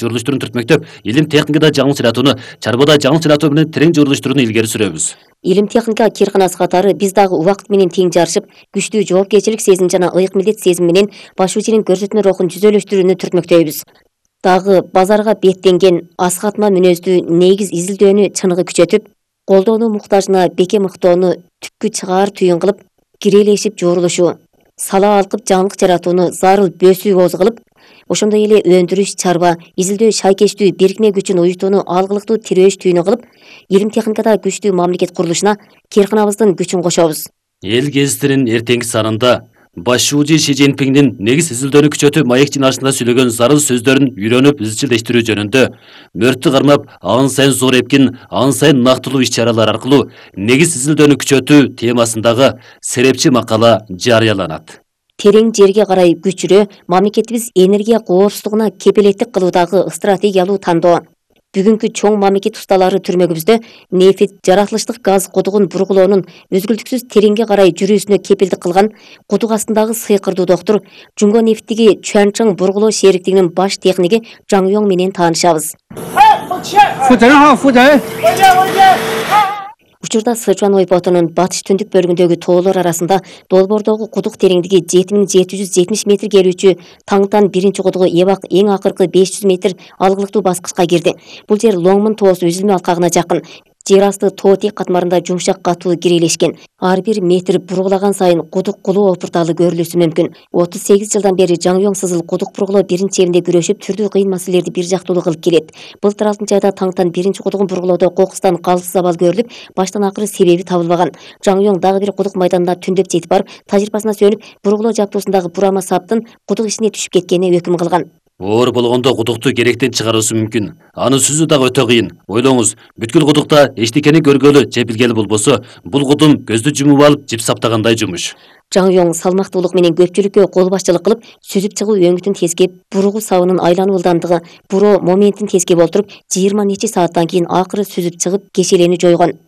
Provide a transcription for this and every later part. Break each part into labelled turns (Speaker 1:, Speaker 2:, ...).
Speaker 1: журулуштарын түртмөктөп, илим техникада жаңылык жаратууну, чарбада жаңылык жаратуу менен терең журулуштууну илгери сүрөбүз.
Speaker 2: Илим техника кирканасы катары биз дагы убакыт менен тең жарышып, күчтүү жоопкерчилик сезим жана ыйык милдет сезим менен башуучунун көрсөтмө рухун жүзөлөштүрүүнү түртмөктөйбүз. Дагы базарга беттенген асхатма мүнөздүү негиз изилдөөнү чыныгы күчөтүп, колдоону муктажына беке мыктоону түпкү чыгаар түйүн кылып, кирелешип жуурулушу, сала алкып жаңылык жаратууну зарыл бөөсүү кооз кылып, ошондой эле өндүрүш, чарба, изилдөө, шайкечтүү бирикме күчүн уюштууну алгылыктуу тирөөш түйүнү кылып, илим техникада күчтүү мамлекет курулушуна кирканабыздын күчүн кошобуз.
Speaker 1: Эл гезитинин эртеңки санында башчуу Ши Цзиньпиңдин негиз изилдөөнү күчөтүү маек жыйналышында сүйлөгөн зарыл сөздөрүн үйрөнүп изчилдештирүү жөнүндө мөрттү кармап, ан сайын зор эпкин, ан сайын нактылуу иш-чаралар аркылуу негиз изилдөөнү күчөтүү темасындагы серепчи макала жарыяланат.
Speaker 2: Терең жерге карай күчүрө мамлекетибиз энергия коопсуздугуна кепилеттик кылуудагы стратегиялуу тандоо. Бүгүнкү чоң мамлекет усталары түрмөгүбүздө нефт, жаратылыштык газ кудугун бургулоонун өзгүлтүксүз тереңге карай жүрүүсүнө кепилдик кылган кудук астындагы сыйкырдуу доктур Жунго нефттиги Чуанчжың бургулоо шериктигинин баш техниги Жаң Йоң менен таанышабыз. Учурда Сычуан ойпотунун батыш түндүк бөлүгүндөгү тоолор арасында долбоордогу кудук тереңдиги 7770 метр келүүчү Таңтан биринчи кудугу эбак эң акыркы 500 метр алгылыктуу баскычка кирди. Бул жер Лоңмун тоосу үзүлмө алкагына жакын. Жер асты тоо тек катмарында жумшак катуу кирелешкен. Ар бир метр бургулаган сайын кудук кулуу опурталы көрүлүшү мүмкүн. 38 жылдан бери Жаң Йоң сызыл кудук бургулоо биринчи элинде күрөшүп, түрдүү кыйын маселелерди бир жактуулуу кылып келет. Былтыр 6 айда Таңтан биринчи кудугун бургулоодо кокустан калыс абал көрүлүп, баштан акыры себеби табылбаган. Жаң Йоң дагы бир кудук майданына түндөп жетип барып, тажрыйбасына сүйөнүп, бургулоо жаптуусундагы бурама саптын кудук ичине түшүп кеткенине өкүм кылган.
Speaker 1: Оор болгондо кудукту керектен чыгаруусу мүмкүн. Аны сүзүү дагы өтө кыйын. Ойлоңуз, бүткүл кудукта эчтекени көргөлү же билгели болбосо, бул кудум көздү жумуп алып, жип саптагандай жумуш.
Speaker 2: Жаң Йоң салмактуулук менен көпчүлүккө кол башчылык кылып, сүзүп чыгуу өңүтүн тескеп, буругу сабынын айлануу ылдамдыгы, буроо моментин тескеп олтуруп, 20 нече сааттан кийин акыры сүзүп чыгып, кешелени жойгон.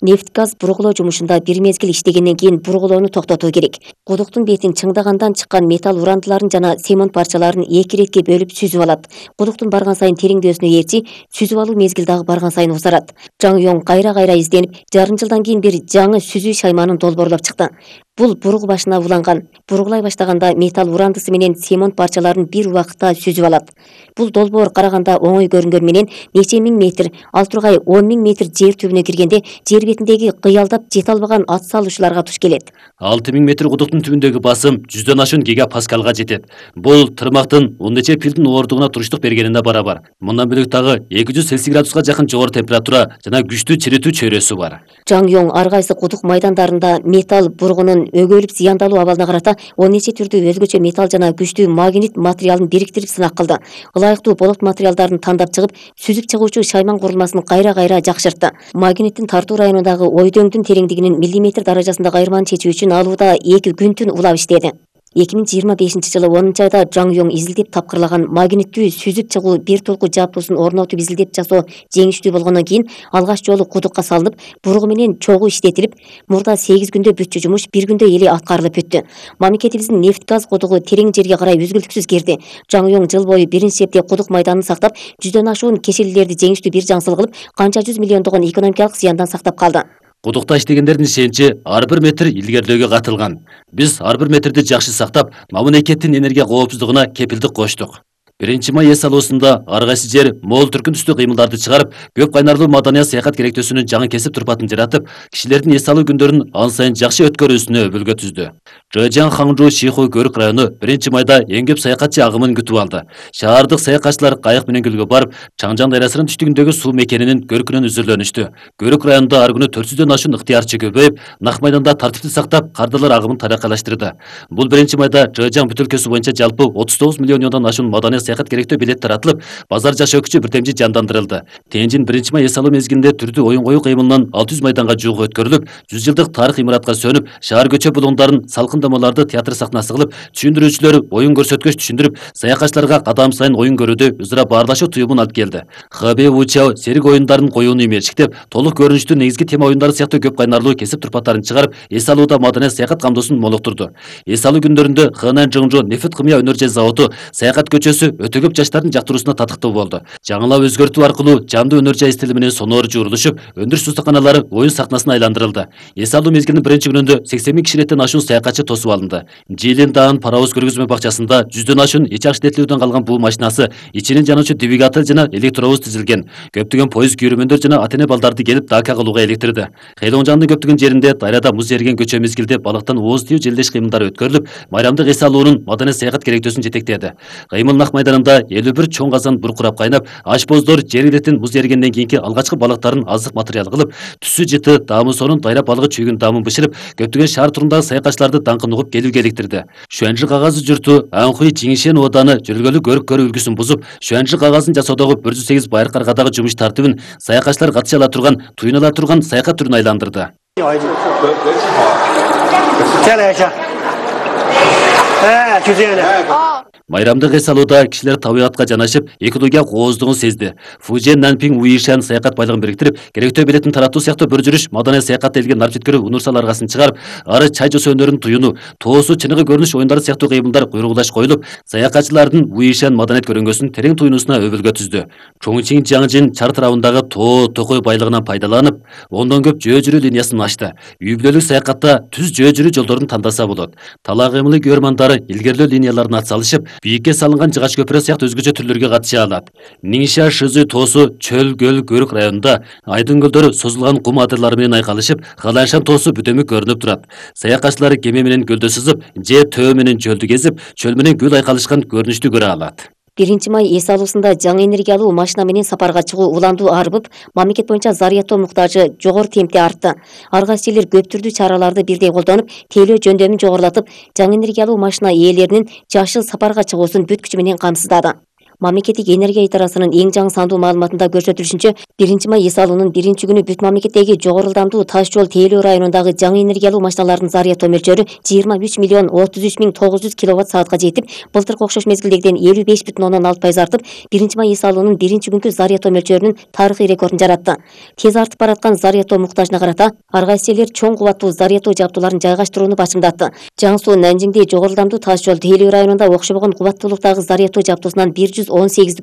Speaker 2: Нефт газ бургулоо жумушунда бир мезгил иштегенден кийин бургулоону токтотуу керек. Кудуктун бетин чыңдагандан чыккан металл урандыларын жана цемент парчаларын 2 иретке бөлүп сүзүп алат. Кудуктун барган сайын тереңдөөсүнө ээрчи, сүзүп алуу мезгил дагы барган сайын узарат. Жаң Йоң кайра изденип, жарым жылдан кийин бир жаңы сүзүү шайманын долбоорлоп чыкты. Бул буругу башына уланган. Буругулай баштаганда металл урандысы менен цемент парчаларын бир убакытта сүзүп алат. Бул долбоор караганда оңой көрүнгөн менен нече миң метр, ал тургай 10 000 метр жер түбүнө киргенде жер бетиндеги кыялдап жете албаган ат салуучуларга туш келет.
Speaker 1: 6000 метр кудуктун түбүндөгү басым 100дөн ашуун гигапаскалга жетет. Бул тырмактын 10 нече пилдин ооругуна туруштук бергенине барабар. Мындан бөлөк дагы 200 Цельсий градуска жакын жогору температура жана күчтүү чиритүү чөйрөсү бар.
Speaker 2: Жаң Йоң ар кайсы кудук майдандарында металл бургунун өгөлүп зыяндалуу абалына карата 10 нече түрдүү өзгөчө металл жана күчтүү магнит материалын бириктирип сынак кылды. Ылайыктуу болот материалдарын тандап чыгып, сүзүп чыгуучу шайман курулмасын кайра жакшыртты. Магниттин тартуу районундагы ойдөңдүн тереңдигинин миллиметр даражасындагы айырманы чечүү үчүн алууда 2 күн-түн улап иштеди. 2025 жылы 10 айда Жаң Йоң изилдеп тапкырлаган магниттүү сүзүп чыгуу бир толку жаптуусун орнотуп изилдеп жасоо жеңиштүү болгондон кийин алгач жолу кудукка салынып, буругу менен чогуу иштетилип, мурда 8 күндө бүтчү жумуш 1 күндө эле аткарылып бүттү. Мамлекетибиздин нефт газ кудугу терең жерге карай үзгүлтүксүз кирди. Жаң Йоң жыл бою биринчи эпте кудук майданын сактап, 100дөн ашуун кешелилерди жеңиштүү бир жаңсыл кылып, канча 100 миллиондогон экономикалык зыяндан сактап калды.
Speaker 1: Кудукта иштегендердин ишеничи ар бир метр илгерилөөгө катылган. Биз ар бир метрди жакшы сактап, мамлекеттин энергия коопсуздугуна кепилдик коштук. 1 май эс алуусунда ар кайсы жер мол түркүн түстүү кыймылдарды чыгарып, көп кайнарлуу маданият саякат керектөөсүнүн жаңы кесип турпатын жаратып, кишилердин эс алуу күндөрүн ан сайын жакшы өткөрүүсүнө өбөлгө түздү. Жэжян Хаңжу Шиху Көрүк району 1 майда эң көп саякатчы агымын күтүп алды. Шаардык саякатчылар кайык менен көлгө барып, Чаңжан дайрасынын түштүгүндөгү суу мекенинин көркүнөн үзүрлөнүштү. Көрүк районунда ар күнү 400дөн ашуун ыктыярчы көбөйүп, нак майданда тартипти сактап, кардылар агымын тараккайлаштырды. Бул 1 майда Жэжян бүтөлкөсү боюнча жалпы 39 миллиондон ашуун маданият саякат керектөө билеттер атылып, базар жашоо күчү бирдемчи жандандырылды. Тенжин 1 май эс алуу мезгилинде түрдүү оюн коюу кыймылынан 600 майданга жугу өткөрүлүп, 100 жылдык тарых имаратка сөнүп, шаар көчө булуңдарын, салкындамаларды театр сахнасы кылып, түшүндүрүүчүлөр оюн көрсөткөч түшүндүрүп, саякатчыларга кадам сайын оюн көрүүдө өзара баарлашуу туюмун алып келди. Хэбэ Вучао серик оюндарын коюуну имерчиктеп, толук көрүнүштүү негизги тема оюндары сыяктуу көп кайнарлуу кесип турпаттарын чыгарып, эс алууда маданият саякат камдоосун молуктурду. Эс алуу күндөрүндө Хэнан Жыңжу нефт кымя өнөр заводу, саякат көчөсү, өтө көп жаштардын жактыруусуна татыктуу болду. Жаңылап өзгөртүү аркылуу жамдуу өнөр жай стили менен сонор жуурулушуп, өндүрүш устаканалары оюн сахнасына айландырылды. Эс алуу мезгилинин биринчи күнүндө 80 000 кишилеттен ашуун саякатчы тосуп алынды. Жилин даан паровоз көргөзмө бакчасында 100дөн ашуун ич акчететилүүдөн калган буу машинасы, ичинин жануучу двигатель жана электробуз тизилген. Көптөгөн поезд күйрөмөндөр жана ата-эне балдарды келип дака кылууга электирди. Хейлоңжандын көптөгөн жеринде дайрада муз эрген көчө мезгилде балыктан ооз тию желдеш кыймылдары өткөрүлүп, майрамдык эс алуунун маданий саякат керектөөсүн жетектеди. Кыймыл нак майданында 51 чоң казан буркурап кайнап, ашпоздор жер илеттин муз эргенден кийинки алгачкы балыктарын азык материал кылып, түсү жыты даамы сонун дайра балыгы чүйгүн даамын бышырып, көптөгөн шаар турундагы саякатчыларды даңкын угуп келүүгө иликтирди. Шуанжы кагазы журту Анхуй Жиңишен ооданы жөргөлүү көрүк көрүү үлгүсүн бузуп, Шуанжы кагазын жасоодогу 108 байыр каргадагы жумуш тартибин саякатчылар катыша ала турган, туюнала турган саякат түрүнө айландырды. Майрамдык эс алууда кишилер табиатка жанашып, экология кооздугун сезди. Фужен Нанпиң Уишан саякат байлыгын бириктирип, керектөө билетин таратуу сыяктуу бір жүрүш маданий саякат элген нарп жеткирүү унурсал аргасын чыгарып, ары чай жосо өнөрүн туюну, тоосу чыныгы көрүнүш оюндары сыяктуу кыймылдар куйругулаш коюлуп, саякатчылардын Уишан маданият көрүнгөсүн терең туюнуусуна өбөлгө түздү. Чоңчиң Жаңжин чар тарабындагы тоо, токой байлыгынан пайдаланып, ондон көп жөө жүрүү линиясын ачты. Үй бүлөлүк саякатта түз жөө жүрүү жолдорун тандаса болот. Тала кыймылы көрмандары илгерлөө линияларын атсалышып, бийикке салынган жыгач көпүрө сыяктуу өзгөчө түрлөргө катыша алат. Ниңша Шызы тоосу чөл көл көрүк районунда айдын көлдөрү созулган кум адырлары менен айкалышып, Халаншан тоосу бүтөмүк көрүнүп турат. Саякатчылар кеме менен көлдө сызып, же төө менен чөлдү кезип, чөл менен көл айкалышкан көрүнүштү көрө алат.
Speaker 2: 1 май эс алуусунда жаңы энергиялуу машина менен сапарга чыгуу уландуу арбып, мамлекет боюнча зарядтоо муктажы жогору темпте артты. Ар кайсы элдер көп түрдүү чараларды бирдей колдонуп, тейлөө жөндөмүн жогорулатып, жаңы энергиялуу машина ээлеринин жашыл сапарга чыгуусун бүт күчү менен камсыздады. Мамлекеттик энергия идарасынын эң жаңы сандуу маалыматында көрсөтүлүшүнчө, 1 май эс алуунун 1-күнү бүт мамлекеттеги жогору ылдамдуу таш жол тейлөө районундагы жаңы энергиялуу машиналардын зарядтоо мөлчөрү 23.33.900 киловатт-саатка жетип, былтыркы окшош мезгилдегиден 55,6% артып, 1 май эс алуунун 1-күнкү зарядтоо мөлчөрүнүн тарыхый рекордун жаратты. Тез артып бараткан зарядтоо муктажына карата, ар кайсы элдер чоң кубаттуу зарядтоо жабдууларын жайгаштырууну башымдатты. Жаңсуу Нанжиңде жогору ылдамдуу таш жол тейлөө районунда окшобогон кубаттуулуктагы зарядтоо жабдуусунан 118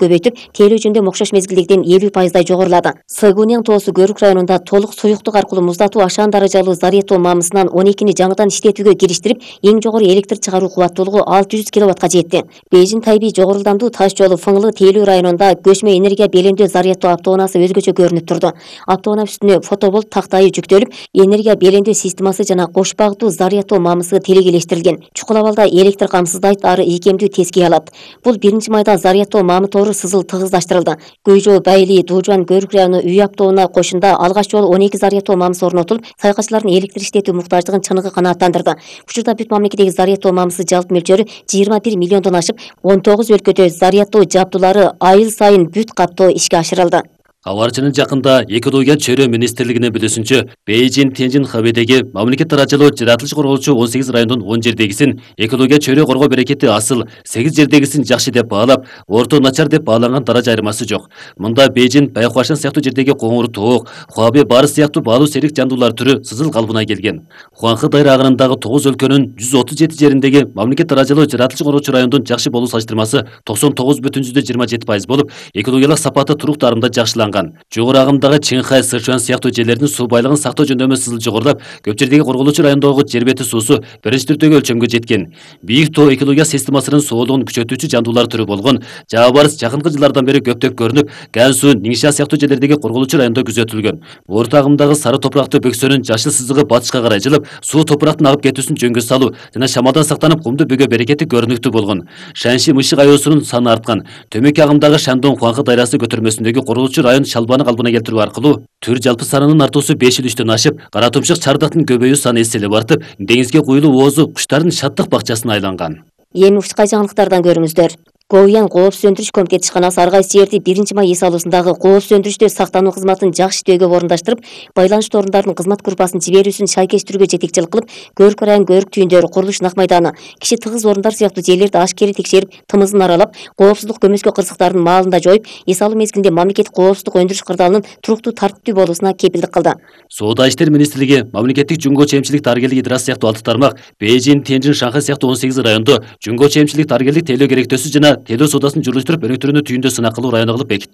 Speaker 2: көбөйтүп, тейлөө жөндөм окшош мезгилдегиден 50% жогорулады. Сыгуняң тоосу көрүк районунда толук суюктук аркылуу муздатуу ашаан даражалуу зарядтоо мамысынан 12-ни жаңыдан иштетүүгө кириштирип, эң жогору электр чыгаруу кубаттуулугу 600 киловаттка жетти. Бейжин Тайби жогору ылдамдуу таш жолу Фыңлы тейлөө районунда көчмө энергия белемдөө зарядтоо автоунаасы өзгөчө көрүнүп турду. Автоунаа үстүнө фотоболт тактайы жүктөлүп, энергия белемдөө системасы жана кош багыттуу зарядтоо мамысы телегелештирилген. Чукул абалда электр камсыздайт, ары ийкемдүү тескей алат. Бул 1 майда зарядтоо мамы тору сызыл тыгыздаштырылды. Көйжөө, Байли, Дуужан, Көрүк району үй автоунаа кошунда алгач жолу 12 зарядтоо мамысы орнотулуп, саякатчылардын электр иштетүү муктаждыгын чыныгы канааттандырды. Учурда бүт мамлекеттеги зарядтоо мамысы жалпы мөлчөрү 21 миллиондон ашып, 19 өлкөдө зарядтоо жабдуулары айыл сайын бүт каттоо ишке ашырылды.
Speaker 1: Кабарчынын жакында экология чөйрө министрлигинин билүүсүнчө, Бейжин Тенжин Хабэдеги мамлекет даражалуу жаратылыш коргоочу 18 райондун 10 жердегисин экология чөйрө коргоо берекети асыл, 8 жердегисин жакшы деп баалап, орто начар деп бааланган даража айырмасы жок. Мында Бейжин Байкуашан сыяктуу жердеги коңур тоок, Хуабе бары сыяктуу баалуу серик жандуулар түрү сызыл калыбына келген. Хуанхы дайра агырындагы 9 өлкөнүн 137 жериндеги мамлекет даражалуу жаратылыш коргоочу райондун жакшы болуу салыштырмасы 99,27% болуп, экологиялык сапаты турук дарымда жакшыланган. Жогору агымдагы Чыңхай, Сычуан сыяктуу жерлердин суу байлыгын сактоо жөндөмү сызыл жогорулап, көп жердеги корголуучу райондогу жер бети суусу биринчи түрдөгү өлчөмгө жеткен. Бийик тоо экология системасынын соолугун күчөтүүчү жандуулар түрү болгон Жаабарс жакынкы жылдардан бери көптөп көрүнүп, Гансу, Ниңша сыяктуу жерлердеги корголуучу райондо күзөтүлгөн. Орто агымдагы сары топурактуу бөксөнүн жашыл сызыгы батышка карай жылып, суу топурактын агып кетүүсүн жөнгө салуу жана шамалдан сактанып кумду бөгө берекети көрүнүктүү болгон. Шанши мышык аюусунун саны арткан. Төмөк агымдагы Шандон Хуанхы дайрасы көтөрмөсүндөгү корголуучу район шалбаны калыбына келтирүү аркылуу түр жалпы санынын артуусу 5,3-төн ашып, кара тумшук чардактын көбөйүү саны эселеп артып, деңизге куюлуу оозу куштардын шаттык бакчасына айланган.
Speaker 2: Эми ушкай жаңылыктардан көрүңүздөр. Говьян коопсуз өндүрүш комитети ишканасы ар кайсы жерди 1 май эс алуусундагы коопсуз өндүрүштө сактануу кызматын жакшы иштөөгө орундаштырып, байланыштуу орундардын кызмат группасын жиберүүсүн шайкештирүүгө жетекчилик кылып, Көрүк район көрүк түйүндөрү, курулуш нак майданы, киши тыгыз орундар сыяктуу жерлерди ашкери текшерип, тымызын аралап, коопсуздук көмөскө кырсыктарын маалында жоюп, эс алуу мезгилинде мамлекеттик коопсуздук өндүрүш кырдаалынын туруктуу тартиптүү болуусуна кепилдик кылды.
Speaker 1: Соода иштер министрлиги мамлекеттик жумго чемчилик дарыгерлик идарасы сыяктуу 6 тармак, Бейжин, Тенжин, Шанхай сыяктуу 18 райондо жумго чемчилик дарыгерлик тейлөө керектөөсү жана тейлөө соодасын жүргүзүштүрүп өнөктөрүнү түйүндө сынак кылуу району кылып бекитти.